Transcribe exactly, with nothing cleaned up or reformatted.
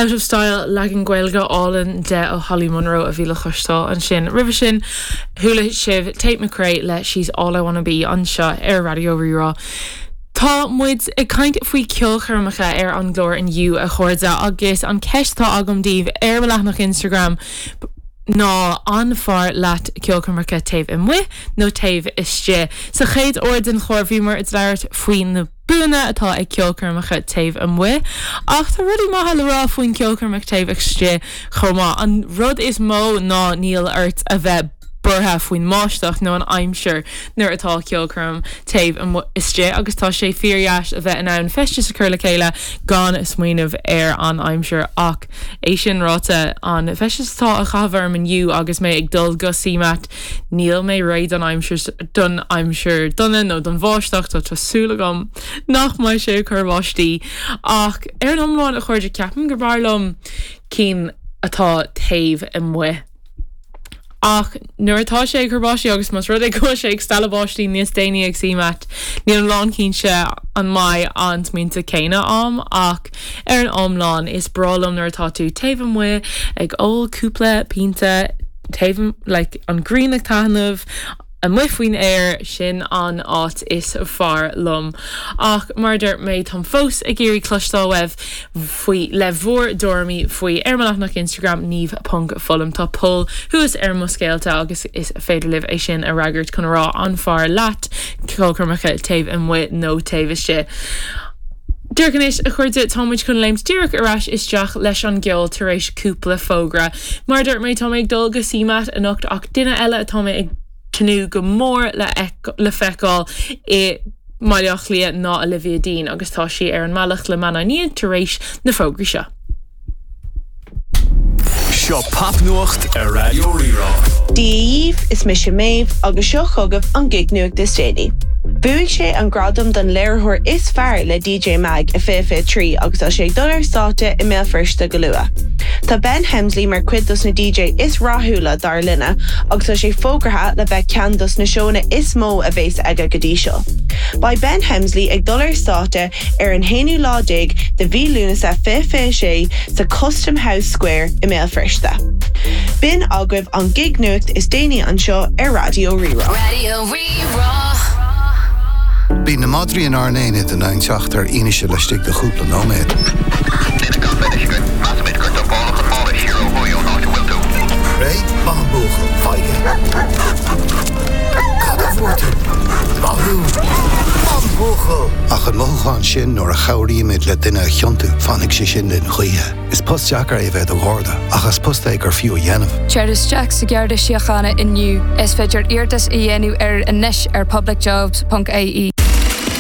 Out of Style leagan Gaeilge álainn de ó Holly Munro a bhí le cloisteáil ansin. Roimhe sin chuala sibh Tate McRae le She's All I Wanna Be anseo ar Raidió Rí-Rá. Tá muid ag caint faoi ceolchoirmeacha ar an gclár inniu a chairde agus an ceist atá agam daoibh ar mo leathanach Instagram ná an fearr leat ceolchoirmeacha taobh amuigh nó taobh istigh. Sa chéad uair den chlár bhíomar ag labhairt faoi na buanna atá ag ceolchoirmeacha taobh amuigh, ach tá rudaí maithe le rá faoin ceolchoirmeach taobh istigh chomh maith. An rud is mó ná níl ort a bheith buartha faoin mbáisteach nó an aimsir nuair atá ceolchoirm taobh istigh agus tá sé fíordheas a bheith in ann feisteas a chur le chéile gan smaoineamh ar an aimsir ach é sin ráite an feisteas atá á chaitheamh orm inniu agus mé ag dul go CMAT níl mé réidh don aimsir don aimsir dona nó don bháisteach tá tá súil agam nach mbeidh sé ag cur báistí ach ar an iomlán a chairde ceapaim gur b'fhearr liom cinn atá taobh amuigh. Ach nuair atá sé ag cur báistí agus más rud é go sé ag stealladh báistí níos déanaí ag CMAT, níl lánchinnte an mbeidh an smaointe céanna agam ach ar an iomlán is breá liom nuair atá tú taobh amuigh ag ól cúpla pionta taobh like, an ghrian ag taitneamh, amuigh faoin aer sin an áit is fearr liom. Ach mar deir mé táim fós ag iarraidh cloisteáil uaibh faoi le bhur dtuairimí faoi ar mo leathanach Instagram niamh.fullam tá poll thuas ar mo scéalta agus is féidir libh é sin a fhreagairt chun rá an fearr leat ceolchoirmeacha taobh amuigh nó taobh istigh. Díreach anois a chairde táimid chun léimt díreach ar ais isteach leis an gceol tar éis cúpla fógra. Mar deir mé tá mé ag dul go CMAT anocht ach duine eile atá mé ag tnúth go mór le le feiceáil i mBaile Átha Cliath ná Olivia Dean agus tá sí ar an mbealach le Maná tar éis na fógraí seo. Seo popnuacht ar Raidió Rí-Rá. Dia daoibh is mise Méabh agus seo chugaibh an gig nuacht is déanaí. Bhuaigh sé an gradam don léiritheoir is fearr le DJ Mag i fiche fiche trí agus tá sé ag dul ar stáitse i mBéal Feirste go luath. Tá Ben Hemsley mar chuid dos na DJ is rathúla dár linne agus tá sé fógartha le bheith ceann dos na seónna is mó a bheas aige go dtí seo. Beidh Ben Hemsley ag dul ar stáitse ar an haonú lá déag de mhí Lúnasa fiche fiche sé sa Custom House Square i mBéal Feirste. B'in agaibh an gig nuacht is déanaí anseo ar Raidió Rí-Rá. Raidió Rí-Rá. Bíonn na madraí in ár n-aonad in ann teacht ar fhianaise laistigh de chúpla nóiméad. Measaimid gur dumpáladh an mála siar ó thuaidh ón áit a bhfuil tú. Réidh maith an buachaill faigh. Cad a fuair tú? Maith thú. An buachaill. Ach an mothúchán sin nuair a chabhraímid le duine a chiontú fanfaidh sé sin linn choíche. Is post deacair é bheith i do gharda, ach is post é gur fiú a dhéanamh. Téir isteach sa Gharda Síochána inniu is féidir iarratas a dhéanamh ar anois ar publicjobs.ie.